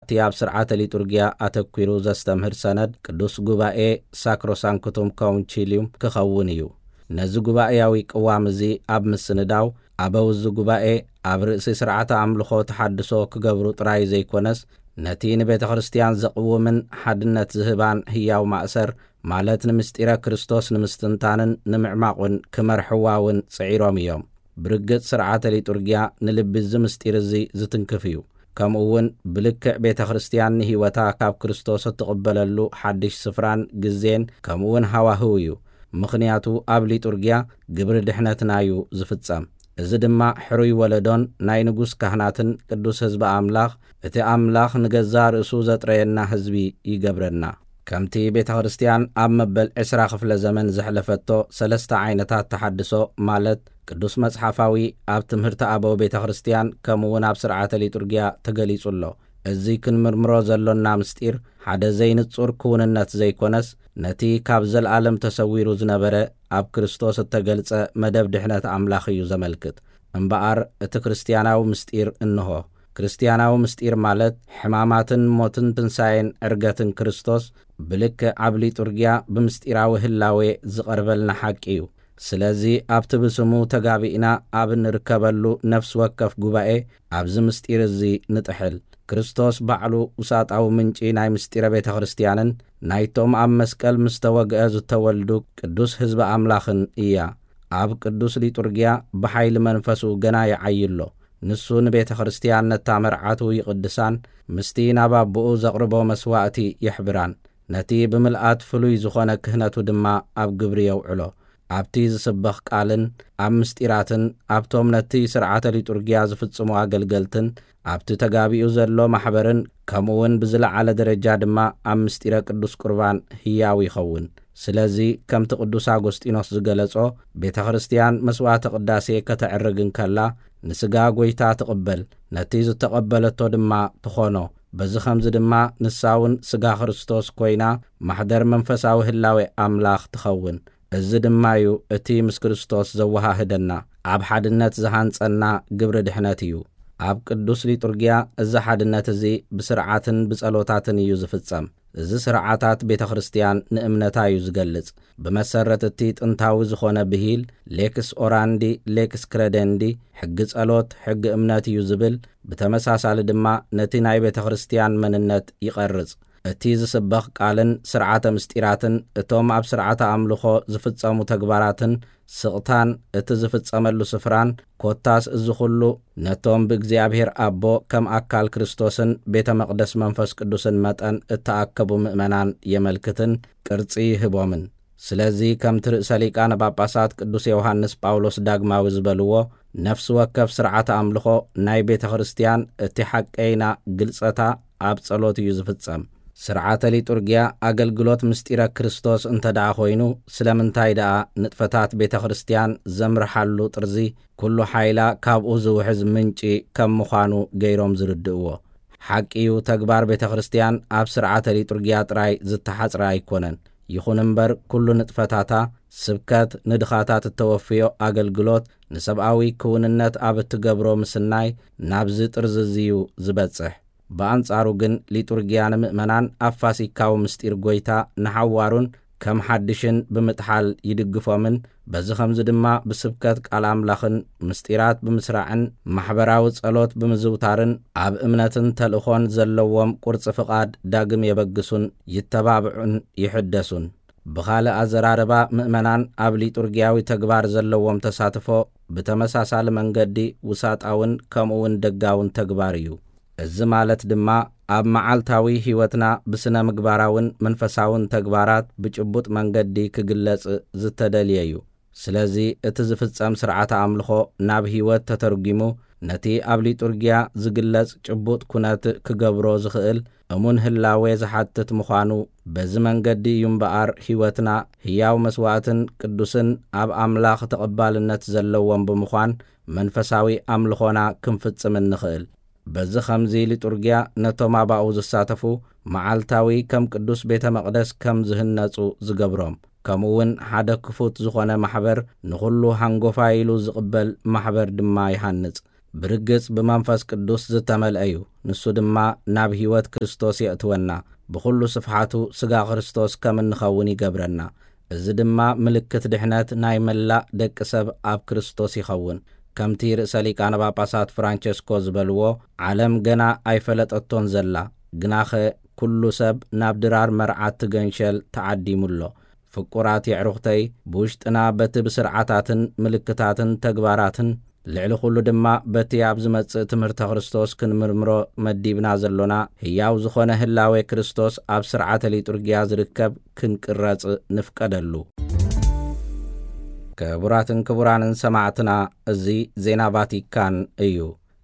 እቲ ኣብ ስርዓተ ሊጡርጊያ ኣተኲሩ ዘስተምህር ሰነድ ቅዱስ ጉባኤ ሳክሮሳንክቱም ኮንቺልዩም ክኸውን እዩ። ነዚ ጉባኤያዊ ቅዋም እዚ ኣብ ምስንዳው ኣበው እዚ ጉባኤ ኣብ ርእሲ ስርዓተ ኣምልኾ ተሓድሶ ክገብሩ ጥራይ ዘይኮነስ ነቲ ንቤተ ክርስቲያን ዘቕውምን ሓድነት ዝህባን ህያው ማእሰር ማለት ንምስጢረ ክርስቶስ ንምስትንታንን ንምዕማቑን ክመርሕዋ እውን ጽዒሮም እዮም። ብርግጽ ስርዓተ ሊጡርጊያ ንልቢ እዚ ምስጢር እዚ ዝትንክፍ እዩ። ከምኡ እውን ብልክዕ ቤተ ክርስቲያን ንህይወታ ካብ ክርስቶስ እትቕበለሉ ሓድሽ ስፍራን ግዜን ከምኡ እውን ሃዋህው እዩ። ምኽንያቱ ኣብ ሊጡርጊያ ግብሪ ድሕነትና እዩ ዝፍጸም። እዚ ድማ ሕሩይ ወለዶን ናይ ንጉስ ካህናትን ቅዱስ ህዝቢ ኣምላኽ፣ እቲ ኣምላኽ ንገዛ ርእሱ ዘጥረየና ህዝቢ ይገብረና። ከምቲ ቤተ ክርስቲያን ኣብ መበል ዕስራ ክፍለ ዘመን ዘሕለፈቶ ሰለስተ ዓይነታት ተሓድሶ ማለት ቅዱስ መጽሓፋዊ ኣብ ትምህርቲ ኣበው ቤተ ክርስቲያን ከምኡ እውን ኣብ ስርዓተ ሊጡርጊያ ተገሊጹ ኣሎ። እዚ ክንምርምሮ ዘሎና ምስጢር ሓደ ዘይንጹር ክውንነት ዘይኮነስ ነቲ ካብ ዘለዓለም ተሰዊሩ ዝነበረ ኣብ ክርስቶስ እተገልጸ መደብ ድሕነት ኣምላኽ እዩ ዘመልክት። እምበኣር እቲ ክርስትያናዊ ምስጢር እንሆ። ክርስትያናዊ ምስጢር ማለት ሕማማትን ሞትን ትንሳኤን ዕርገትን ክርስቶስ ብልክዕ ኣብ ሊጡርጊያ ብምስጢራዊ ህላዌ ዝቐርበልና ሓቂ እዩ። ስለዚ ኣብቲ ብስሙ ተጋቢእና ኣብ እንርከበሉ ነፍሲ ወከፍ ጉባኤ ኣብዚ ምስጢር እዚ ንጥሕል። ክርስቶስ ባዕሉ ውሳጣዊ ምንጪ ናይ ምስጢረ ቤተ ክርስቲያንን ናይቶም ኣብ መስቀል ምስ ተወግአ ዝተወልዱ ቅዱስ ህዝቢ ኣምላኽን እያ። ኣብ ቅዱስ ሊጡርጊያ ብሓይሊ መንፈሱ ገና ይዓዪ ኣሎ። ንሱ ንቤተ ክርስቲያን ነታ መርዓቱ ይቕድሳን ምስቲ ናብ ኣቦኡ ዘቕርቦ መስዋእቲ የሕብራን። ነቲ ብምልኣት ፍሉይ ዝኾነ ክህነቱ ድማ ኣብ ግብሪ የውዕሎ። ኣብቲ ዝስበኽ ቃልን ኣብ ምስጢራትን ኣብቶም ነቲ ስርዓተ ሊጡርጊያ ዝፍጽሙ ኣገልገልትን ኣብቲ ተጋቢኡ ዘሎ ማሕበርን ከምኡ እውን ብዝለዓለ ደረጃ ድማ ኣብ ምስጢረ ቅዱስ ቁርባን ህያው ይኸውን። ስለዚ ከምቲ ቅዱስ ኣጎስጢኖስ ዝገለጾ ቤተ ክርስቲያን መስዋዕተ ቅዳሴ ከተዕርግ እንከላ ንስጋ ጎይታ ትቕበል፣ ነቲ ዝተቐበለቶ ድማ ትኾኖ። በዚ ኸምዚ ድማ ንሳ እውን ስጋ ክርስቶስ ኮይና ማሕደር መንፈሳዊ ህላዌ ኣምላኽ ትኸውን። እዚ ድማ እዩ እቲ ምስ ክርስቶስ ዘወሃህደና፣ ኣብ ሓድነት ዝሃንጸና ግብሪ ድሕነት እዩ። ኣብ ቅዱስ ሊጡርጊያ እዚ ሓድነት እዚ ብስርዓትን ብጸሎታትን እዩ ዝፍጸም። እዚ ስርዓታት ቤተ ክርስቲያን ንእምነታ እዩ ዝገልጽ። ብመሰረት እቲ ጥንታዊ ዝኾነ ብሂል ሌክስ ኦራንዲ ሌክስ ክረደንዲ፣ ሕጊ ጸሎት ሕጊ እምነት እዩ ዝብል፣ ብተመሳሳሊ ድማ ነቲ ናይ ቤተ ክርስቲያን መንነት ይቐርጽ። እቲ ዝስበኽ ቃልን ስርዓተ ምስጢራትን እቶም ኣብ ስርዓተ ኣምልኾ ዝፍጸሙ ተግባራትን ስቕታን እቲ ዝፍጸመሉ ስፍራን ኮታስ እዚ ኹሉ ነቶም ብእግዚኣብሔር ኣቦ ከም ኣካል ክርስቶስን ቤተ መቕደስ መንፈስ ቅዱስን መጠን እተኣከቡ ምእመናን የመልክትን ቅርጺ ይህቦምን። ስለዚ ከምቲ ርእሰ ሊቃነ ጳጳሳት ቅዱስ ዮሃንስ ጳውሎስ ዳግማዊ ዝበልዎ ነፍሲ ወከፍ ስርዓተ ኣምልኾ ናይ ቤተ ክርስቲያን እቲ ሓቀይና ግልጸታ ኣብ ጸሎት እዩ ዝፍጸም። ስርዓተ ሊጡርጊያ ኣገልግሎት ምስጢረ ክርስቶስ እንተ ደኣ ኮይኑ ስለምንታይ ደኣ ንጥፈታት ቤተ ክርስቲያን ዘምርሓሉ ጥርዚ ኩሉ ሓይላ ካብኡ ዝውሕዝ ምንጪ ከም ምዃኑ ገይሮም ዝርድእዎ። ሓቂ እዩ፣ ተግባር ቤተ ክርስቲያን ኣብ ስርዓተ ሊጡርጊያ ጥራይ ዝተሓጽረ ኣይኮነን። ይኹን እምበር ኩሉ ንጥፈታታ፣ ስብከት፣ ንድኻታት እተወፍዮ ኣገልግሎት፣ ንሰብኣዊ ክውንነት ኣብ እትገብሮ ምስናይ ናብዚ ጥርዚ እዩ ዝበጽሕ። ብኣንጻሩ ግን ሊጡርጊያ ንምእመናን ኣብ ፋሲካዊ ምስጢር ጎይታ ንሓዋሩን ከም ሓድሽን ብምጥሓል ይድግፎምን፣ በዚ ኸምዚ ድማ ብስብከት ቃል ኣምላኽን ምስጢራት ብምስራዕን ማሕበራዊ ጸሎት ብምዝውታርን ኣብ እምነትን ተልእኾን ዘለዎም ቁርጺ ፍቓድ ዳግም የበግሱን ይተባብዑን ይሕደሱን። ብኻልእ ኣዘራርባ ምእመናን ኣብ ሊጡርጊያዊ ተግባር ዘለዎም ተሳትፎ ብተመሳሳሊ መንገዲ ውሳጣውን ከምኡ እውን ደጋውን ተግባር እዩ። እዚ ማለት ድማ ኣብ መዓልታዊ ሕይወትና ብስነ ምግባራውን መንፈሳውን ተግባራት ብጭቡጥ መንገዲ ክግለጽ ዝተደልየ እዩ። ስለዚ እቲ ዝፍጸም ስርዓተ ኣምልኾ ናብ ሕይወት ተተርጒሙ ነቲ ኣብ ሊጡርጊያ ዝግለጽ ጭቡጥ ኩነት ክገብሮ ዝኽእል እሙን ህላዌ ዝሓትት ምዃኑ በዚ መንገዲ እዩ እምበኣር ሕይወትና ህያው መስዋእትን ቅዱስን ኣብ ኣምላኽ ተቐባልነት ዘለዎም ብምዃን መንፈሳዊ ኣምልኾና ክንፍጽም እንኽእል። በዚ ኸምዚ ሊጡርጊያ ነቶም ኣባኡ ዝሳተፉ መዓልታዊ ከም ቅዱስ ቤተ መቕደስ ከም ዝህነጹ ዝገብሮም፣ ከምኡ እውን ሓደ ክፉት ዝኾነ ማሕበር ንኹሉ ሃንጎፋይ ኢሉ ዝቕበል ማሕበር ድማ ይሃንጽ። ብርግጽ ብመንፈስ ቅዱስ ዝተመልአ እዩ። ንሱ ድማ ናብ ሕይወት ክርስቶስ የእትወና፣ ብኹሉ ስፍሓቱ ሥጋ ክርስቶስ ከም እንኸውን ይገብረና። እዚ ድማ ምልክት ድሕነት ናይ መላእ ደቂ ሰብ ኣብ ክርስቶስ ይኸውን። ከምቲ ርእሰ ሊቃነ ጳጳሳት ፍራንቸስኮ ዝበልዎ፣ ዓለም ገና ኣይፈለጠቶን ዘላ፣ ግናኸ ኩሉ ሰብ ናብ ድራር መርዓት ትገንሸል ተዓዲሙ ኣሎ። ፍቁራት የዕሩኽተይ፣ ብውሽጥና በቲ ብስርዓታትን ምልክታትን ተግባራትን፣ ልዕሊ ኩሉ ድማ በቲ ኣብ ዝመጽእ ትምህርተ ክርስቶስ ክንምርምሮ መዲብና ዘሎና፣ ህያው ዝኾነ ህላዌ ክርስቶስ ኣብ ስርዓተ ሊጡርጊያ ዝርከብ ክንቅረጽ ንፍቀደሉ። ክቡራትን ክቡራንን ሰማዕትና፣ እዚ ዜና ቫቲካን እዩ።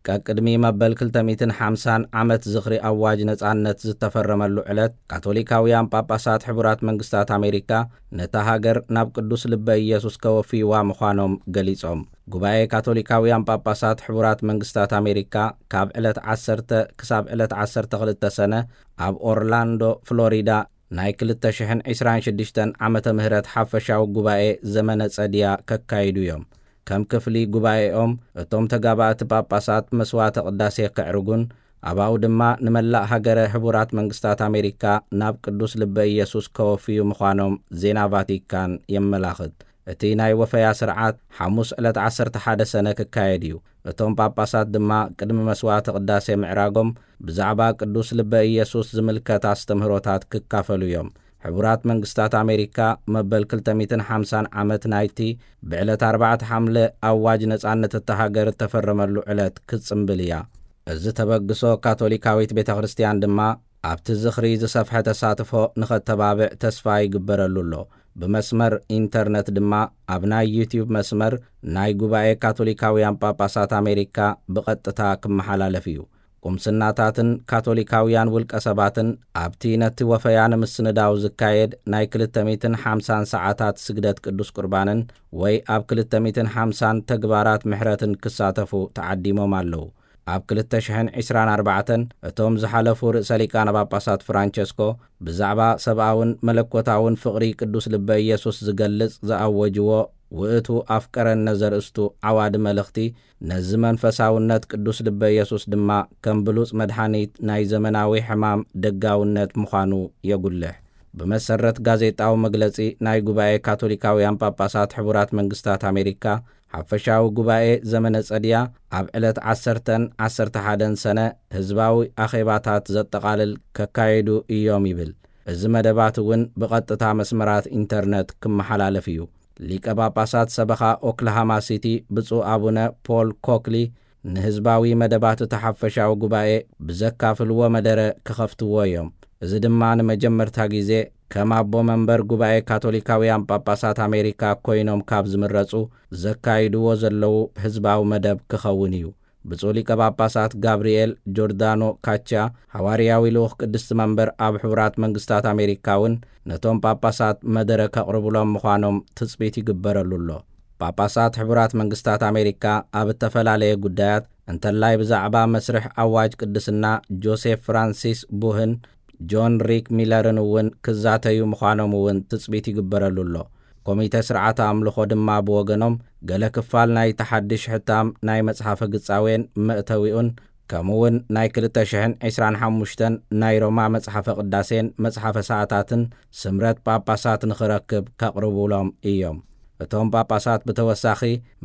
ቀቅድሚ መበል ክልተ ሚእትን ሓምሳን ዓመት ዝኽሪ ኣዋጅ ነጻነት ዝተፈረመሉ ዕለት፣ ካቶሊካውያን ጳጳሳት ሕቡራት መንግስታት ኣሜሪካ ነታ ሃገር ናብ ቅዱስ ልበ ኢየሱስ ከወፍይዋ ምዃኖም ገሊጾም። ጉባኤ ካቶሊካውያን ጳጳሳት ሕቡራት መንግስታት ኣሜሪካ ካብ ዕለት ዓሰርተ ክሳብ ዕለት ዓሰርተ ክልተ ሰነ ኣብ ኦርላንዶ ፍሎሪዳ ናይ ክልተ ሽሕን ዕስራን ሽዱሽተን ዓመተ ምህረት ሓፈሻዊ ጉባኤ ዘመነ ጸድያ ከካይዱ እዮም። ከም ክፍሊ ጉባኤኦም፣ እቶም ተጋባእቲ ጳጳሳት መስዋዕተ ቅዳሴ ከዕርጉን፣ ኣባኡ ድማ ንመላእ ሃገረ ሕቡራት መንግስታት ኣሜሪካ ናብ ቅዱስ ልበ ኢየሱስ ከወፍዩ ምዃኖም ዜና ቫቲካን የመላኽት። እቲ ናይ ወፈያ ስርዓት ሓሙስ ዕለት ዓሰርተ ሓደ ሰነ ክካየድ እዩ። እቶም ጳጳሳት ድማ ቅድሚ መስዋዕተ ቅዳሴ ምዕራጎም ብዛዕባ ቅዱስ ልበ ኢየሱስ ዝምልከት ኣስተምህሮታት ክካፈሉ እዮም። ሕቡራት መንግስታት ኣሜሪካ መበል ክልተ ሚእትን ሓምሳን ዓመት ናይቲ ብዕለት ኣርባዕተ ሓምለ ኣዋጅ ነጻነት እታ ሃገር እተፈረመሉ ዕለት ክትጽምብል እያ። እዚ ተበግሶ ካቶሊካዊት ቤተ ክርስቲያን ድማ ኣብቲ ዝኽሪ ዝሰፍሐ ተሳትፎ ንኸተባብዕ ተስፋ ይግበረሉ ኣሎ። ብመስመር ኢንተርነት ድማ ኣብ ናይ ዩቲዩብ መስመር ናይ ጉባኤ ካቶሊካውያን ጳጳሳት ኣሜሪካ ብቐጥታ ክመሓላለፍ እዩ። ቁምስናታትን ካቶሊካውያን ውልቀ ሰባትን ኣብቲ ነቲ ወፈያ ንምስንዳው ዝካየድ ናይ ክልተ ሚእትን ሓምሳን ሰዓታት ስግደት ቅዱስ ቁርባንን ወይ ኣብ ክልተ ሚእትን ሓምሳን ተግባራት ምሕረትን ክሳተፉ ተዓዲሞም ኣለዉ። ኣብ ክልተ ሽሕን ዕስራን ኣርባዕተን እቶም ዝሓለፉ ርእሰ ሊቃነ ጳጳሳት ፍራንቸስኮ ብዛዕባ ሰብኣውን መለኮታውን ፍቕሪ ቅዱስ ልበ ኢየሱስ ዝገልጽ ዝኣወጅዎ ውእቱ ኣፍቀረነ ዘርእስቱ ዓዋዲ መልእኽቲ፣ ነዚ መንፈሳውነት ቅዱስ ልበ ኢየሱስ ድማ ከም ብሉጽ መድሓኒት ናይ ዘመናዊ ሕማም ደጋውነት ምዃኑ የጉልሕ። ብመሰረት ጋዜጣዊ መግለጺ ናይ ጉባኤ ካቶሊካውያን ጳጳሳት ሕቡራት መንግስታት ኣሜሪካ፣ ሓፈሻዊ ጉባኤ ዘመነ ጸድያ ኣብ ዕለት ዓሰርተን ዓሰርተ ሓደን ሰነ ህዝባዊ ኣኼባታት ዘጠቓልል ከካይዱ እዮም ይብል። እዚ መደባት እውን ብቐጥታ መስመራት ኢንተርነት ክመሓላለፍ እዩ። ሊቀ ጳጳሳት ሰበኻ ኦክላሃማ ሲቲ ብፁዕ ኣቡነ ፖል ኮክሊ ንህዝባዊ መደባት እቲ ሓፈሻዊ ጉባኤ ብዘካፍልዎ መደረ ክኸፍትዎ እዮም። እዚ ድማ ንመጀመርታ ግዜ ከም ኣቦ መንበር ጉባኤ ካቶሊካውያን ጳጳሳት ኣሜሪካ ኮይኖም ካብ ዝምረጹ ዘካይድዎ ዘለዉ ህዝባዊ መደብ ክኸውን እዩ። ብፁዕ ሊቀ ጳጳሳት ጋብርኤል ጆርዳኖ ካቻ፣ ሃዋርያዊ ልኡኽ ቅድስቲ መንበር ኣብ ሕቡራት መንግስታት ኣሜሪካ እውን ነቶም ጳጳሳት መደረ ከቕርቡሎም ምዃኖም ትጽቢት ይግበረሉ ኣሎ። ጳጳሳት ሕቡራት መንግስታት ኣሜሪካ ኣብ እተፈላለየ ጉዳያት፣ እንተላይ ብዛዕባ መስርሕ ኣዋጅ ቅድስና ጆሴፍ ፍራንሲስ ቡህን ጆን ሪክ ሚለርን እውን ክዛተዩ ምዃኖም እውን ትጽቢት ይግበረሉ ኣሎ። ኮሚተ ስርዓተ ኣምልኾ ድማ ብወገኖም፣ ገለ ክፋል ናይቲ ሓድሽ ሕታም ናይ መጽሓፈ ግጻዌን መእተዊኡን፣ ከምኡውን ናይ ክልተ ሽሕን ዕስራን ሓሙሽተን ናይ ሮማ መጽሓፈ ቅዳሴን መጽሓፈ ሰዓታትን ስምረት ጳጳሳት ንኽረክብ ከቕርቡሎም እዮም። እቶም ጳጳሳት ብተወሳኺ፣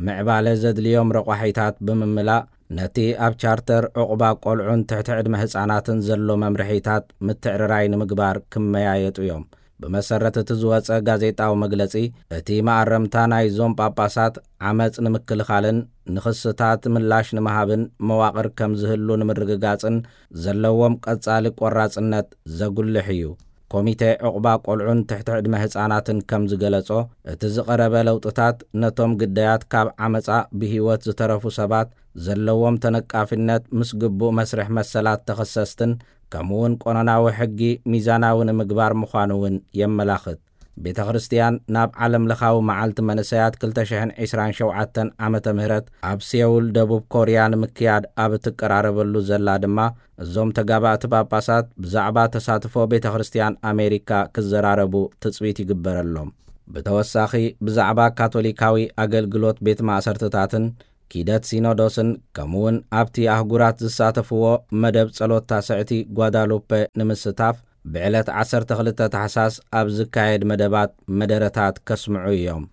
ምዕባለ ዘድልዮም ረቋሒታት ብምምላእ፣ ነቲ ኣብ ቻርተር ዕቑባ ቆልዑን ትሕቲ ዕድመ ህጻናትን ዘሎ መምርሒታት ምትዕርራይ ንምግባር ክመያየጡ እዮም። ብመሰረት እቲ ዝወጸ ጋዜጣዊ መግለጺ፣ እቲ መኣረምታ ናይዞም ጳጳሳት ዓመጽ ንምክልኻልን ንኽስታት ምላሽ ንምሃብን መዋቕር ከም ዝህሉ ንምርግጋጽን ዘለዎም ቀጻሊ ቆራጽነት ዘጉልሕ እዩ። ኮሚተ ዕቑባ ቆልዑን ትሕቲ ዕድመ ህጻናትን ከም ዝገለጾ፣ እቲ ዝቐረበ ለውጥታት ነቶም ግዳያት ካብ ዓመጻ ብህይወት ዝተረፉ ሰባት ዘለዎም ተነቃፊነት ምስ ግቡእ መስርሕ መሰላት ተኸሰስትን ከምኡውን ቆነናዊ ሕጊ ሚዛናዊ ንምግባር ምዃኑ እውን የመላኽት። ቤተ ክርስቲያን ናብ ዓለም ለኻዊ መዓልቲ መንእሰያት ክልተ ሽሕን ዕስራን ሸውዓተን ዓመተ ምህረት ኣብ ሴውል ደቡብ ኮርያ ንምክያድ ኣብ እትቀራረበሉ ዘላ ድማ፣ እዞም ተጋባእቲ ጳጳሳት ብዛዕባ ተሳትፎ ቤተ ክርስቲያን ኣሜሪካ ክዘራረቡ ትጽቢት ይግበረሎም። ብተወሳኺ ብዛዕባ ካቶሊካዊ ኣገልግሎት ቤት ማእሰርትታትን ኪደት ሲኖዶስን ከምኡውን ኣብቲ ኣህጉራት ዝሳተፍዎ መደብ ጸሎት ታስዕቲ ጓዳሉፔ ንምስታፍ ብዕለት ዓሰርተ ክልተ ታሕሳስ ኣብ ዝካየድ መደባት መደረታት ከስምዑ እዮም።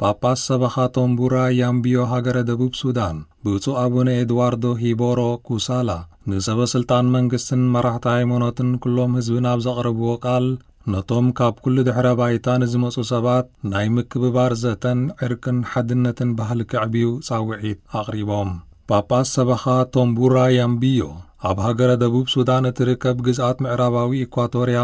ጳጳስ ሰበኻ ቶምቡራ ያምቢዮ ሃገረ ደቡብ ሱዳን ብፁዕ ኣቡነ ኤድዋርዶ ሂቦሮ ኩሳላ ንሰበ ስልጣን መንግስትን መራሕቲ ሃይማኖትን ኩሎም ህዝብን ኣብ ዘቕረብዎ ቃል፣ ነቶም ካብ ኩሉ ድሕረ ባይታ ንዝመጹ ሰባት ናይ ምክብባር ዘተን ዕርቅን ሓድነትን ባህሊ ከዕብዩ ጻውዒት ኣቕሪቦም። ጳጳስ ሰበኻ ቶምቡራ ያምቢዮ ኣብ ሃገረ ደቡብ ሱዳን እትርከብ ግዝኣት ምዕራባዊ ኢኳቶርያ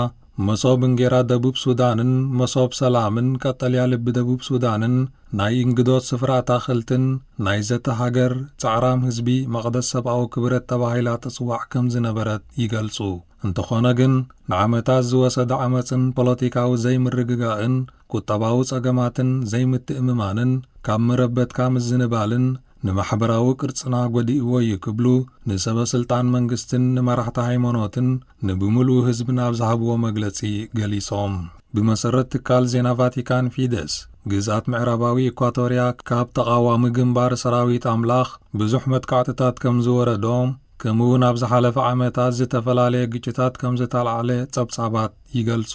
መሶብ እንጌራ ደቡብ ሱዳንን መሶብ ሰላምን ቀጠልያ ልቢ ደቡብ ሱዳንን ናይ እንግዶት ስፍራ ኣታኽልትን ናይ ዘተ ሃገር ጻዕራም ህዝቢ መቕደስ ሰብኣዊ ክብረት ተባሂላ ትጽዋዕ ከም ዝነበረት ይገልጹ። እንተኾነ ግን ንዓመታት ዝወሰደ ዓመጽን ፖለቲካዊ ዘይምርግጋእን ቁጠባዊ ጸገማትን ዘይምትእምማንን ካብ መረበትካ ምዝንባልን ንማሕበራዊ ቅርጽና ጎዲእዎ እዩ ክብሉ ንሰበ ስልጣን መንግስትን ንመራሕቲ ሃይማኖትን ንብምሉኡ ህዝብን ኣብ ዝሃብዎ መግለጺ ገሊጾም። ብመሰረት ትካል ዜና ቫቲካን ፊደስ፣ ግዝኣት ምዕራባዊ ኢኳቶርያ ካብ ተቓዋሚ ግንባር ሰራዊት ኣምላኽ ብዙሕ መጥቃዕትታት ከም ዝወረዶም፣ ከምኡ እውን ኣብ ዝሓለፈ ዓመታት ዝተፈላለየ ግጭታት ከም ዝተላዕለ ጸብጻባት ይገልጹ።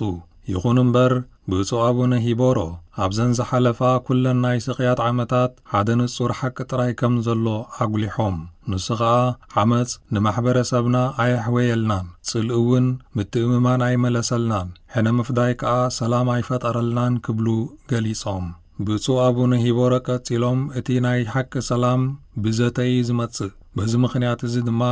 ይኹን እምበር፣ ብፁዕ ኣቡነ ሂቦሮ ኣብዘን ዝሓለፋ ኩለን ናይ ስቕያት ዓመታት ሓደ ንጹር ሓቂ ጥራይ ከም ዘሎ ኣጉሊሖም። ንሱ ኸኣ፣ ዓመጽ ንማሕበረሰብና ኣየሕወየልናን፣ ጽልኢ እውን ምትእምማን ኣይመለሰልናን፣ ሕነ ምፍዳይ ከኣ ሰላም ኣይፈጠረልናን ክብሉ ገሊጾም። ብፁዕ ኣቡነ ሂቦሮ ቀጺሎም፣ እቲ ናይ ሓቂ ሰላም ብዘተ እዩ ዝመጽእ። በዚ ምኽንያት እዚ ድማ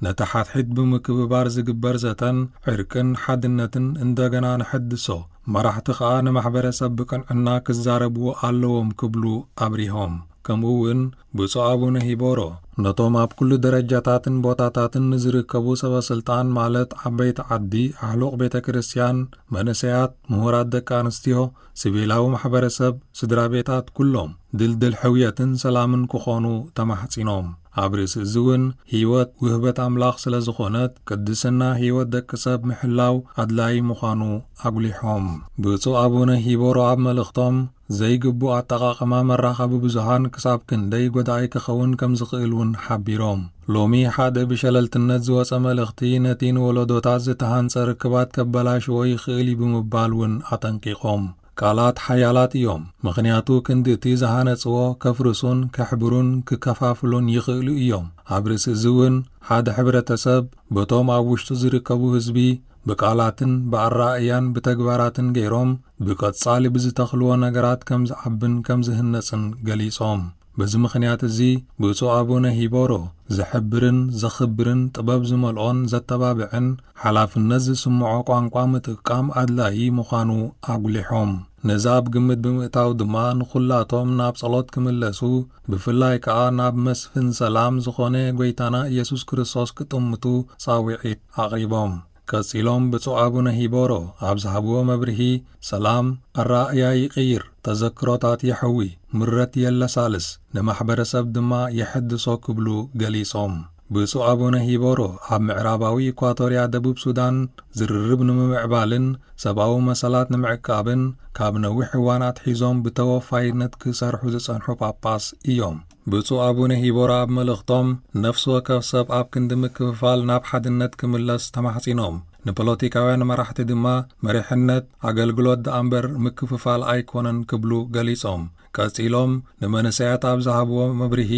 ነቲ ሓድሕድ ብምክብባር ዝግበር ዘተን ዕርቅን ሓድነትን እንደገና ንሐድሶ። መራሕቲ ኸኣ ንማሕበረሰብ ብቅንዕና ክዛረብዎ ኣለዎም ክብሉ ኣብሪሆም። ከምኡ እውን ብፁዕ ኣቡነ ሂቦሮ ነቶም ኣብ ኩሉ ደረጃታትን ቦታታትን ንዝርከቡ ሰበ ስልጣን ማለት ዓበይቲ ዓዲ፣ ኣሕሉቕ ቤተ ክርስቲያን፣ መንእሰያት፣ ምሁራት ደቂ ኣንስትዮ፣ ሲቪላዊ ማሕበረሰብ፣ ስድራ ቤታት ኩሎም ድልድል ሕውየትን ሰላምን ክኾኑ ተማሕጺኖም። ኣብ ርእሲ እዚ እውን ህይወት ውህበት ኣምላኽ ስለ ዝኾነት ቅድስና ህይወት ደቂ ሰብ ምሕላው ኣድላዪ ምዃኑ ኣጉሊሖም። ብፁዕ ኣቡነ ሂቦሮ ኣብ መልእኽቶም ዘይግቡእ ኣጠቓቕማ መራኸቢ ብዙሃን ክሳብ ክንደይ ጎዳኢ ክኸውን ከም ዝኽእል እውን ሓቢሮም። ሎሚ ሓደ ብሸለልትነት ዝወጸ መልእኽቲ ነቲ ንወለዶታት ዝተሃንጸ ርክባት ከበላሽዎ ይኽእል እዩ ብምባል እውን ኣጠንቂቖም። ቃላት ሓያላት እዮም፣ ምኽንያቱ ክንዲ እቲ ዝሃነጽዎ ከፍርሱን ከሕብሩን ክከፋፍሉን ይኽእሉ እዮም። ኣብ ርእሲ እዚ እውን ሓደ ሕብረተሰብ በቶም ኣብ ውሽጡ ዝርከቡ ህዝቢ ብቃላትን ብኣረኣእያን ብተግባራትን ገይሮም ብቐጻሊ ብዝተኽልዎ ነገራት ከም ዝዓብን ከም ዝህነጽን ገሊጾም። በዚ ምኽንያት እዚ ብፁዕ ኣቡነ ሂቦሮ ዘሕብርን ዘኽብርን ጥበብ ዝመልኦን ዘተባብዕን ሓላፍነት ዝስምዖ ቋንቋ ምጥቃም ኣድላዪ ምዃኑ ኣጉሊሖም። ነዚ ኣብ ግምት ብምእታው ድማ ንኹላቶም ናብ ጸሎት ክምለሱ፣ ብፍላይ ከኣ ናብ መስፍን ሰላም ዝኾነ ጐይታና ኢየሱስ ክርስቶስ ክጥምቱ ጻውዒት ኣቕሪቦም። ቀጺሎም ብፁዕ ኣቡነ ሂቦሮ ኣብ ዝሃብዎ መብርሂ፣ ሰላም ኣረኣእያ ይቕይር፣ ተዘክሮታት የሕዊ፣ ምረት የለሳልስ፣ ንማሕበረሰብ ድማ የሐድሶ ክብሉ ገሊጾም። ብፁዕ ኣቡነ ሂቦሮ ኣብ ምዕራባዊ ኢኳቶርያ ደቡብ ሱዳን ዝርርብ ንምምዕባልን ሰብኣዊ መሰላት ንምዕቃብን ካብ ነዊሕ እዋን ኣትሒዞም ብተወፋይነት ክሰርሑ ዝጸንሑ ጳጳስ እዮም። ብፁዕ ኣቡነ ሂቦራ ኣብ መልእኽቶም፣ ነፍሲ ወከፍ ሰብ ኣብ ክንዲ ምክፍፋል ናብ ሓድነት ክምለስ ተማሕጺኖም። ንፖለቲካውያን መራሕቲ ድማ መሪሕነት ኣገልግሎት ደኣ እምበር ምክፍፋል ኣይኮነን ክብሉ ገሊጾም። ቀጺሎም ንመንእሰያት ኣብ ዝሃብዎ መብርሂ፣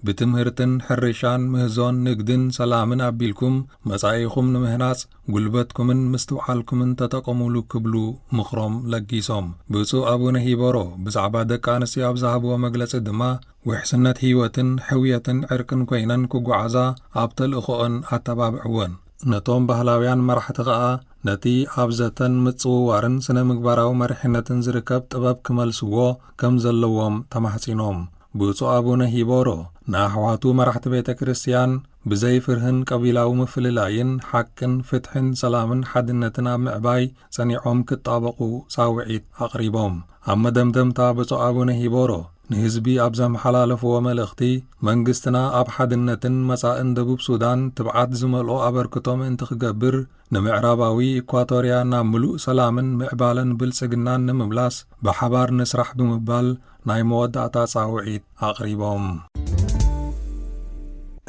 ብትምህርትን ሕርሻን ምህዞን ንግድን ሰላምን ኣቢልኩም መጻኢኹም ንምህናጽ ጉልበትኩምን ምስትውዓልኩምን ተጠቐሙሉ ክብሉ ምኽሮም ለጊሶም። ብፁዕ ኣቡነ ሂቦሮ ብዛዕባ ደቂ ኣንስትዮ ኣብ ዝሃብዎ መግለጺ ድማ፣ ውሕስነት ህይወትን ሕውየትን ዕርቅን ኮይነን ክጓዓዛ ኣብ ተልእኾኦን ኣተባብዕወን። ነቶም ባህላውያን መራሕቲ ኸኣ ነቲ ኣብ ዘተን ምጽውዋርን ስነ ምግባራዊ መሪሕነትን ዝርከብ ጥበብ ክመልስዎ ከም ዘለዎም ተማሕጺኖም። ብፁዕ ኣቡነ ሂቦሮ ንኣሕዋቱ መራሕቲ ቤተ ክርስቲያን ብዘይ ፍርህን ቀቢላዊ ምፍልላይን ሓቅን ፍትሕን ሰላምን ሓድነትን ኣብ ምዕባይ ጸኒዖም ክጣበቑ ጻውዒት ኣቕሪቦም። ኣብ መደምደምታ ብፁዕ ኣቡነ ሂቦሮ ንህዝቢ ኣብ ዘመሓላለፍዎ መልእኽቲ፣ መንግስትና ኣብ ሓድነትን መጻእን ደቡብ ሱዳን ትብዓት ዝመልኦ ኣበርክቶ ምእንቲ ክገብር፣ ንምዕራባዊ ኢኳቶርያ ናብ ምሉእ ሰላምን ምዕባለን ብልጽግናን ንምምላስ ብሓባር ንስራሕ ብምባል ናይ መወዳእታ ጻውዒት ኣቕሪቦም።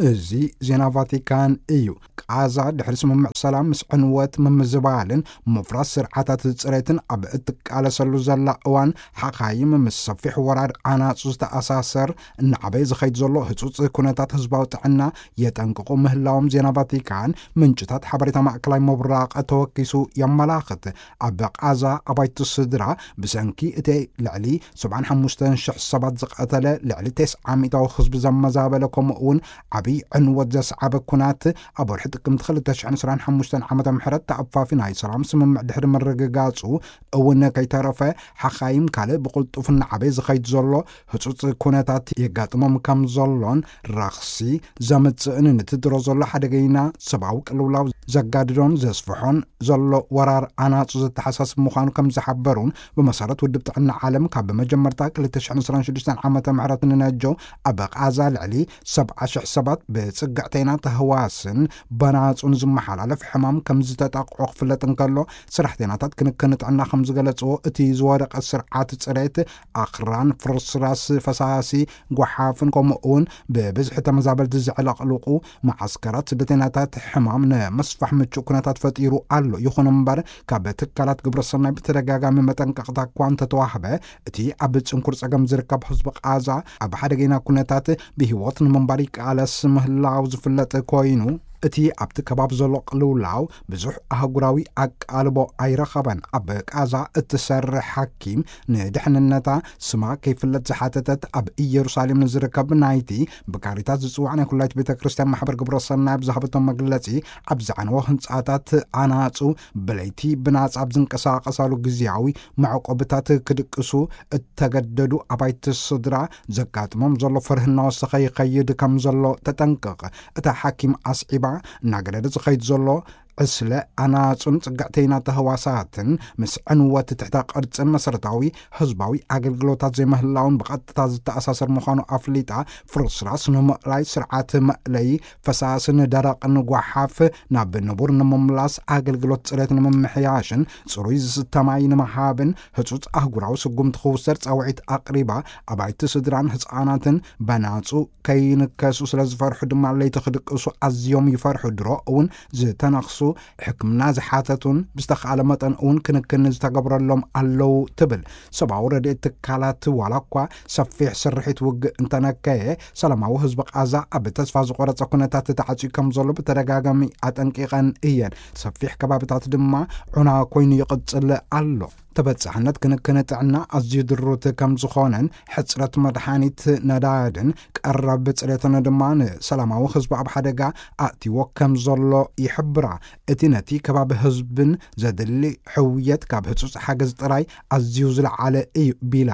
እዚ ዜና ቫቲካን እዩ። ቃዛ ድሕሪ ስምምዕ ሰላም ምስ ዕንወት ምምዝባልን ምፍራስ ስርዓታት ጽሬትን ኣብ እትቃለሰሉ ዘላ እዋን፣ ሓኻይም ምስ ሰፊሕ ወራር ኣናጹ ዝተኣሳሰር እናዓበየ ዝኸይድ ዘሎ ህጹጽ ኩነታት ህዝባዊ ጥዕና የጠንቅቑ ምህላዎም ዜና ቫቲካን ምንጭታት ሓበሬታ ማእከላይ ምብራቕ ተወኪሱ የመላኽት። ኣብ ቃዛ ኣባይቲ ስድራ ብሰንኪ እቲ ልዕሊ ሰብዓን ሓሙሽተን ሽሕ ሰባት ዝቐተለ፣ ልዕሊ ተስዓ ሚእታዊ ህዝቢ ዘመዛበለ፣ ከምኡ እውን ዓብዪ ዕንወት ዘስዓበ ኩናት ኣብ ወርሒ ጥቅምቲ ክልተ ሽሕን ዕስራን ሓሙሽተን ዓመተ ምሕረት ተኣፋፊ ናይ ሰላም ስምምዕ ድሕሪ ምርግጋጹ እውን ከይተረፈ፣ ሓኻይም ካልእ ብቕልጡፍ እናዓበየ ዝኸይድ ዘሎ ህጹጽ ኩነታት የጋጥሞም ከም ዘሎን ረኽሲ ዘምጽእን ንትድሮ ዘሎ ሓደገይና ሰብኣዊ ቅልውላው ዘጋድዶን ዘስፍሖን ዘሎ ወራር ኣናጹ ዘተሓሳስብ ምዃኑ ከም ዝሓበሩን፣ ብመሰረት ውድብ ጥዕና ዓለም ካብ መጀመርታ ክልተ ሽሕን ዕስራን ሽዱሽተን ዓመተ ምህረት ንነጆ ኣብ ቃዛ ልዕሊ ሰብዓ ሽሕ ሰባት ብጽግዕተይና ተህዋስን በናጹን ዝመሓላለፍ ሕማም ከም ዝተጠቕዖ ክፍለጥ እንከሎ፣ ሰራሕተይናታት ክንክን ጥዕና ከም ዝገለጽዎ፣ እቲ ዝወደቐ ስርዓት ጽሬት ኣኽራን፣ ፍርስራስ ፈሳሲ፣ ጓሓፍን ከምኡ እውን ብብዝሒ ተመዛበልቲ ዘዕለቕልቑ መዓስከራት ስደተኛታት ሕማም ንምስፋሕ ምቹእ ኩነታት ፈጢሩ ኣሎ። ይኹን እምበር፣ ካብ ትካላት ግብረሰናይ ብተደጋጋሚ መጠንቀቕታ እኳ እንተተዋህበ፣ እቲ ኣብ ጽንኩር ጸገም ዝርከብ ህዝቢ ቃዛ ኣብ ሓደገኛ ኩነታት ብህይወት ንምንባር ይቃለስ ምህላው ዝፍለጥ ኮይኑ፣ እቲ ኣብቲ ከባቢ ዘሎ ቅልውላው ብዙሕ ኣህጉራዊ ኣቃልቦ ኣይረኸበን። ኣብ ቃዛ እትሰርሕ ሓኪም፣ ንድሕንነታ ስማ ከይፍለጥ ዝሓተተት፣ ኣብ ኢየሩሳሌም ንዝርከብ ናይቲ ብካሪታስ ዝጽዋዕ ናይ ኩላይት ቤተ ክርስቲያን ማሕበር ግብረ ሰናይ ኣብ ዝሃበቶ መግለጺ፣ ኣብ ዝዓነወ ህንጻታት ኣናጹ ብለይቲ ብናጻ ኣብ ዝንቀሳቐሳሉ ግዜያዊ መዕቆብታት ክድቅሱ እተገደዱ ኣባይቲ ስድራ ዘጋጥሞም ዘሎ ፍርሂ እናወሰኸ ይኸይድ ከም ዘሎ ተጠንቅቕ። እታ ሓኪም ኣስዒባ፣ እናገደደ ዝኸይድ ዘሎ ዕስለ ኣናጹን ጽግዕተይና ተህዋሳትን ምስ ዕንወት ትሕተ ቅርጽን መሰረታዊ ህዝባዊ ኣገልግሎታት ዘይምህላውን ብቐጥታ ዝተኣሳሰር ምዃኑ ኣፍሊጣ፣ ፍርስራስ ንምእላይ ስርዓት መእለዪ ፈሳስን ደረቕን ጓሓፍ ናብ ንቡር ንምምላስ ኣገልግሎት ጽሬት ንምምሕያሽን ጽሩይ ዝስተ ማይ ንምሃብን ህጹጽ ኣህጉራዊ ስጉምቲ ክውሰድ ጻውዒት ኣቕሪባ፣ ኣባይቲ ስድራን ህጻናትን በናጹ ከይንከሱ ስለ ዝፈርሑ ድማ ለይቲ ክድቅሱ ኣዝዮም ይፈርሑ። ድሮ እውን ዝተነኽሱ፣ ሕክምና ዝሓተቱን ብዝተኻእለ መጠን እውን ክንክን ዝተገብረሎም ኣለዉ ትብል። ሰብኣዊ ረድኤት ትካላት ዋላ እኳ ሰፊሕ ስርሒት ውግእ እንተነከየ፣ ሰላማዊ ህዝቢ ቃዛ ኣብ ተስፋ ዝቆረጸ ኩነታት ተዓጽዩ ከም ዘሎ ብተደጋጋሚ ኣጠንቂቐን እየን። ሰፊሕ ከባብታት ድማ ዑና ኮይኑ ይቕጽል ኣሎ። ተበጻሕነት ክንክን ጥዕና ኣዝዩ ድሩት ከም ዝኾነን፣ ሕጽረት መድሓኒት፣ ነዳድን ቀረብ ጽሬትን ድማ ንሰላማዊ ህዝቢ ኣብ ሓደጋ ኣእትይዎ ከም ዘሎ ይሕብራ። እቲ ነቲ ከባቢ ህዝብን ዘድሊ ሕውየት ካብ ህጹጽ ሓገዝ ጥራይ ኣዝዩ ዝለዓለ እዩ ቢላ፣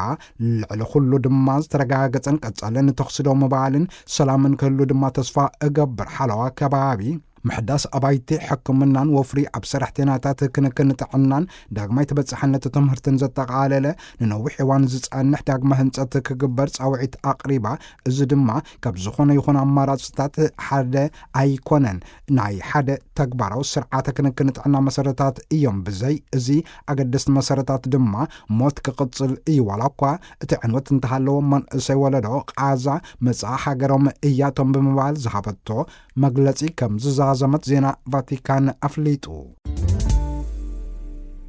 ልዕሊ ኩሉ ድማ ዝተረጋገጸን ቀጻልን ተኹሲ ደው ምባልን ሰላምን ክህሉ ድማ ተስፋ እገብር። ሓለዋ ከባቢ፣ ምሕዳስ ኣባይቲ ሕክምናን ወፍሪ ኣብ ሰራሕተኛታት ክንክን ጥዕናን ዳግማይ ተበጻሕነት ትምህርትን ዘጠቓለለ ንነዊሕ እዋን ዝጸንሕ ዳግመ ህንጸት ክግበር ጻውዒት ኣቕሪባ። እዚ ድማ ካብ ዝኾነ ይኹን ኣማራጽታት ሓደ ኣይኮነን። ናይ ሓደ ተግባራዊ ስርዓተ ክንክን ጥዕና መሰረታት እዮም። ብዘይ እዚ ኣገደስቲ መሰረታት ድማ ሞት ክቕጽል እዩ። ዋላ እኳ እቲ ዕንወት እንተሃለዎ፣ መንእሰይ ወለዶ ቃዛ መጻኢ ሃገሮም እያቶም ብምባል ዝሃበቶ መግለጺ ከም ዝዛዘመት ዜና ቫቲካን ኣፍሊጡ።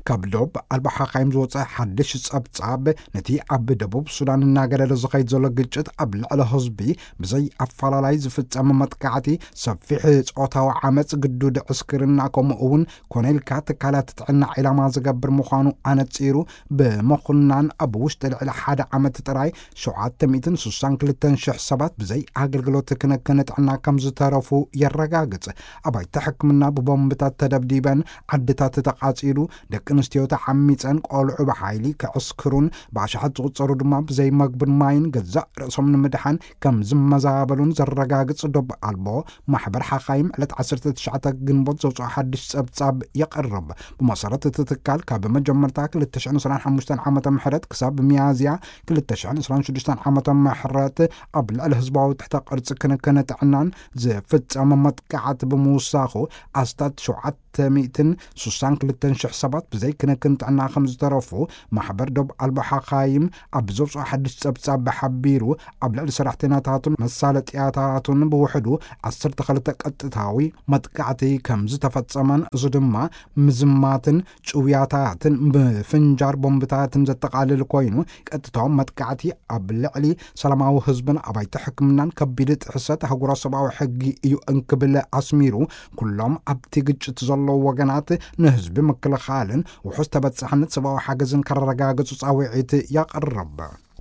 ካብ ዶብ ኣልባ ሓኻይም ዝወጸ ሓድሽ ጸብጻብ፣ ነቲ ኣብ ደቡብ ሱዳን እናገደደ ዝኸይድ ዘሎ ግጭት፣ ኣብ ልዕሊ ህዝቢ ብዘይ ኣፈላላይ ዝፍጸም መጥቃዕቲ፣ ሰፊሕ ጾታዊ ዓመጽ፣ ግዱድ ዕስክርና፣ ከምኡ እውን ኮነ ኢልካ ትካላት ጥዕና ዒላማ ዝገብር ምዃኑ ኣነጺሩ ብምኹናን፣ ኣብ ውሽጢ ልዕሊ ሓደ ዓመት ጥራይ ሸውዓተ ሚእትን ስሳን ክልተን ሽሕ ሰባት ብዘይ ኣገልግሎት ክንክን ጥዕና ከም ዝተረፉ የረጋግጽ። ኣባይቲ ሕክምና ብቦምብታት ተደብዲበን፣ ዓድታት ተቓጺሉ፣ ደቂ ኣንስትዮ ተዓሚጸን፣ ቆልዑ ብሓይሊ ክዕስክሩን ብኣሽሓት ዝቑጸሩ ድማ ብዘይ መግብን ማይን ገዛእ ርእሶም ንምድሓን ከም ዝመዛበሉን ዘረጋግጽ ዶብ ኣልቦ ማሕበር ሓኻይም ዕለት ዓሰርተ ትሽዓተ ግንቦት ዘውፅኦ ሓድሽ ጸብጻብ የቕርብ። ብመሰረት እቲ ትካል ካብ መጀመርታ ክልተ ሽሕን ዕስራን ሓሙሽተን ዓመተ ምሕረት ክሳብ ሚያዝያ ክልተ ሽሕን ዕስራን ሽዱሽተን ዓመተ ምሕረት ኣብ ልዕሊ ህዝባዊ ትሕተ ቅርጺ ክንክን ጥዕናን ዝፍጸመ መጥቃዕቲ ብምውሳኹ ኣስታት ሸውዓተ ሚእትን ስሳን ክልተን ሽሕ ሰባት ብዘይ ክንክን ጥዕና ከም ዝተረፉ ማሕበር ዶብ ኣልቦ ሓኻይም ኣብ ዘውፅኦ ሓድሽ ጸብጻብ ሓቢሩ። ኣብ ልዕሊ ሰራሕተኛታቱን መሳለጥያታቱን ብውሕዱ ዓሰርተ ክልተ ቀጥታዊ መጥቃዕቲ ከም ዝተፈጸመን፣ እዚ ድማ ምዝማትን ጭውያታትን ብፍንጃር ቦምብታትን ዘጠቓልል ኮይኑ፣ ቀጥታዊ መጥቃዕቲ ኣብ ልዕሊ ሰላማዊ ህዝብን ኣባይቲ ሕክምናን ከቢድ ጥሕሰት ኣህጉራዊ ሰብኣዊ ሕጊ እዩ እንክብል ኣስሚሩ፣ ኩሎም ኣብቲ ግጭት ዘለዉ ወገናት ንህዝቢ ምክልኻልን ውሑስ ተበጻሕነት ሰብኣዊ ሓገዝን ከረጋግጹ ጻውዒት ያቕርብ።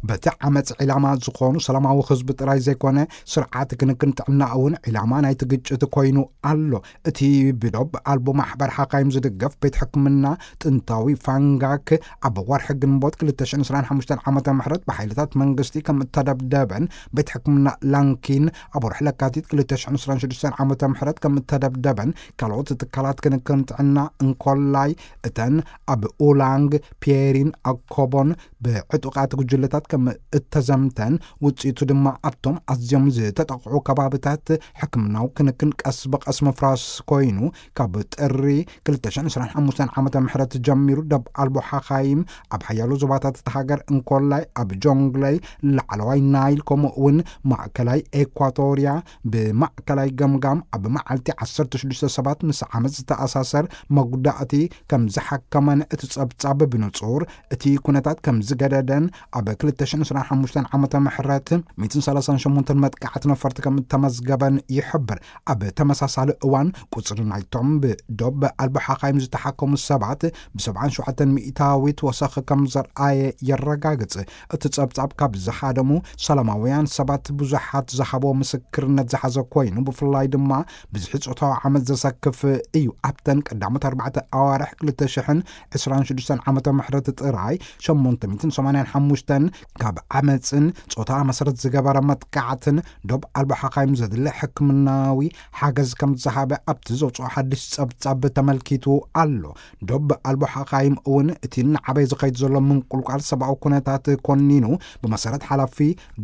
በቲ ዓመፅ ዒላማ ዝኾኑ ሰላማዊ ህዝቢ ጥራይ ዘይኮነ፣ ስርዓት ክንክን ጥዕና እውን ዒላማ ናይቲ ግጭት ኮይኑ ኣሎ። እቲ ብዶብ ኣልቦ ማሕበር ሓካይም ዝድገፍ ቤት ሕክምና ጥንታዊ ፋንጋክ ኣብ ወርሒ ግንቦት ክልተ ሽሕን ዕስራን ሓሙሽተን ዓመተ ምሕረት ብሓይልታት መንግስቲ ከም እተደብደበን፣ ቤት ሕክምና ላንኪን ኣብ ወርሒ ለካቲት ክልተ ሽሕን ዕስራን ሽዱሽተን ዓመተ ምሕረት ከም እተደብደበን፣ ካልኦት ትካላት ክንክን ጥዕና እንኮላይ እተን ኣብ ኡላንግ፣ ፒየሪን ኣኮቦን ብዕጡቓት ጉጅለታት ከም እተዘምተን፣ ውጽኢቱ ድማ ኣብቶም ኣዝዮም ዝተጠቕዑ ከባብታት ሕክምናዊ ክንክን ቀስ ብቐስ ምፍራስ ኮይኑ፣ ካብ ጥሪ ክልተ ሽሕን ዕስራን ሓሙሽተን ዓመተ ምሕረት ጀሚሩ ደብ ኣልቦ ሓኻይም ኣብ ሓያሎ ዞባታት እታ ሃገር እንኮላይ ኣብ ጆንግለይ፣ ላዕለዋይ ናይል፣ ከምኡ እውን ማእከላይ ኤኳቶርያ ብማእከላይ ገምጋም ኣብ መዓልቲ ዓሰርተ ሽዱሽተ ሰባት ምስ ዓመት ዝተኣሳሰር መጉዳእቲ ከም ዝሓከመን እቲ ጸብጻብ ብንጹር እቲ ኩነታት ከም ዝገደደን ኣብ ክልተ ሽሕን ዕስራን ሓሙሽተን ዓመተ ምሕረት ሚእትን ሰላሳን ሸሞንተን መጥቃዕቲ ነፈርቲ ከም እተመዝገበን ይሕብር። ኣብ ተመሳሳሊ እዋን ቁጽሪ ናይቶም ብዶብ ኣልቦ ሓኻይም ዝተሓከሙ ሰባት ብሰብዓን ሸውዓተን ሚእታዊት ወሰኽ ከም ዘርኣየ የረጋግጽ። እቲ ጸብጻብ ካብ ዝሃደሙ ሰላማውያን ሰባት ብዙሓት ዝሃቦ ምስክርነት ዝሓዘ ኮይኑ፣ ብፍላይ ድማ ብዝሒ ጾታዊ ዓመት ዘሰክፍ እዩ። ኣብተን ቀዳሞት ኣርባዕተ ኣዋርሕ ክልተ ሽሕን ዕስራን ሽዱሽተን ዓመተ ምሕረት ጥራይ ሸሞንተ ሚእትን ሰማንያን ሓሙሽተን ካብ ዓመጽን ጾታ መሰረት ዝገበረ መጥቃዕትን ዶብ ኣልቦ ሓኻይም ዘድሊ ሕክምናዊ ሓገዝ ከም ዝሃበ ኣብቲ ዘውፅኦ ሓድሽ ጸብጻብ ተመልኪቱ ኣሎ። ዶብ ኣልቦ ሓኻይም እውን እቲ እናዓበየ ዝኸይድ ዘሎ ምንቁልቋል ሰብኣዊ ኩነታት ኮኒኑ፣ ብመሰረት ሓላፊ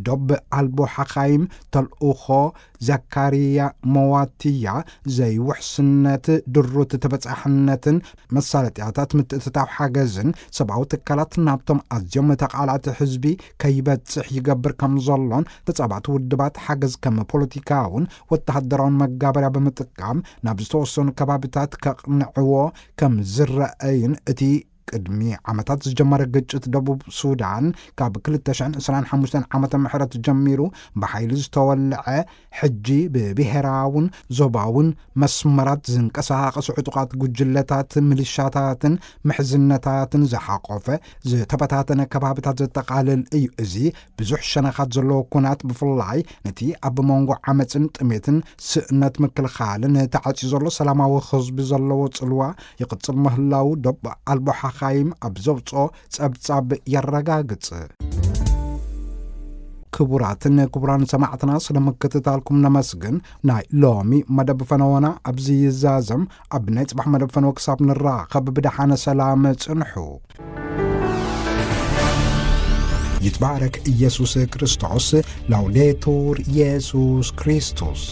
ዶብ ኣልቦ ሓኻይም ተልእኾ ዘካርያ መዋትያ፣ ዘይውሕስነት ድሩት ተበጻሕነትን መሳለጥያታት ምትእትታው ሓገዝን ሰብኣዊ ትካላት ናብቶም ኣዝዮም ተቓላዕቲ ህዝቢ ከይበጽሕ ይገብር ከም ዘሎን፣ ተጻባእቲ ውድባት ሓገዝ ከም ፖለቲካውን ወተሃደራውን መጋበርያ ብምጥቃም ናብ ዝተወሰኑ ከባቢታት ከቕንዕዎ ከም ዝረኣይን፣ እቲ ቅድሚ ዓመታት ዝጀመረ ግጭት ደቡብ ሱዳን ካብ ክልተ ሽሕን ዕስራን ሓሙሽተን ዓመተ ምሕረት ጀሚሩ ብሓይሊ ዝተወልዐ፣ ሕጂ ብብሄራውን ዞባውን መስመራት ዝንቀሳቐሱ ዕጡቓት ጉጅለታት፣ ምልሻታትን ምሕዝነታትን ዝሓቆፈ ዝተበታተነ ከባብታት ዘጠቓልል እዩ። እዚ ብዙሕ ሸነኻት ዘለዎ ኩናት ብፍላይ ነቲ ኣብ መንጎ ዓመፅን ጥሜትን ስእነት ምክልኻልን ተዓፅዩ ዘሎ ሰላማዊ ህዝቢ ዘለዎ ጽልዋ ይቕጽል ምህላው ደብ ኣልቦ ሓኻይም ኣብ ዘውፅኦ ጸብጻብ የረጋግጽ። ክቡራትን ክቡራን ሰማዕትና፣ ስለ ምክትታልኩም ነመስግን። ናይ ሎሚ መደብ ፈነወና ኣብዚ ይዛዘም። ኣብ ናይ ጽባሕ መደብ ፈነወ ክሳብ ንራኸብ ብደሓነ ሰላም ጽንሑ። ይትባረክ ኢየሱስ ክርስቶስ። ላውዴቱር ኢየሱስ ክርስቶስ።